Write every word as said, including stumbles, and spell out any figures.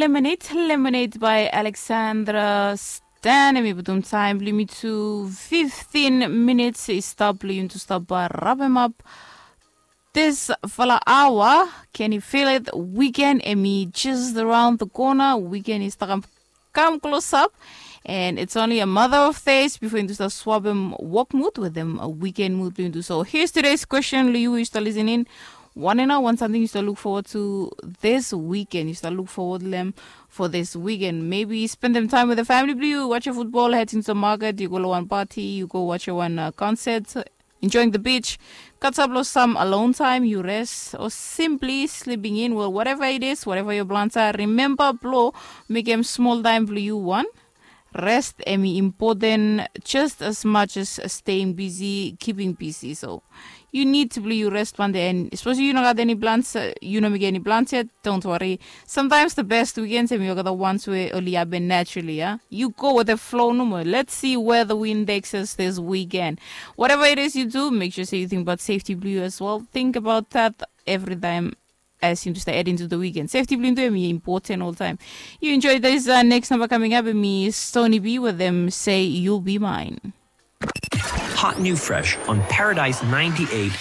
Lemonade, Lemonade by Alexandra Stan. Em i putum taem blong yumi tu fiftin minits i stap blong yumi tu stap rabemap disfala aoa. Can you feel it? Weekend em i just around the corner. Weekend i stap kam klosap. And it's only a matter of days before yumi tu stap swapem wok mut wetem weekend mut blong yumi tu. So here's today's question long yu we yu stap listening. Wanem nao wan samting yu stap look forward to this weekend? Yu stap look forward long em for this weekend? Maybe spendem taem with the family blong yu, watch a football, head into the market, yu go long wan party, yu go watch a wan uh, concert, enjoying the beach, katap long some alone time, yu rest, or simply sleeping in. Well, whatever it is, whatever your plans are, remember blong mekem small time blong yu wan. Rest em i important just as much as staying busy, keeping busy. So you need to blong yu rest plante, and especially yu no gat any plans, uh, yu no mekem any plans yet, don't worry. Sometimes the best weekends em i olgeta ones we oli happen naturally, yeah? You go with the flow nomo. Let's see where the wind takes us this weekend. Whatever it is you do, make sure say you think about safety blong yu as well. Think about that every time as you just add into the weekend. Safety blong yu tu em i important all time. You enjoy this uh, next number coming up and me Stony B with them say you'll be mine. Hot new fresh on Paradise ninety-eight.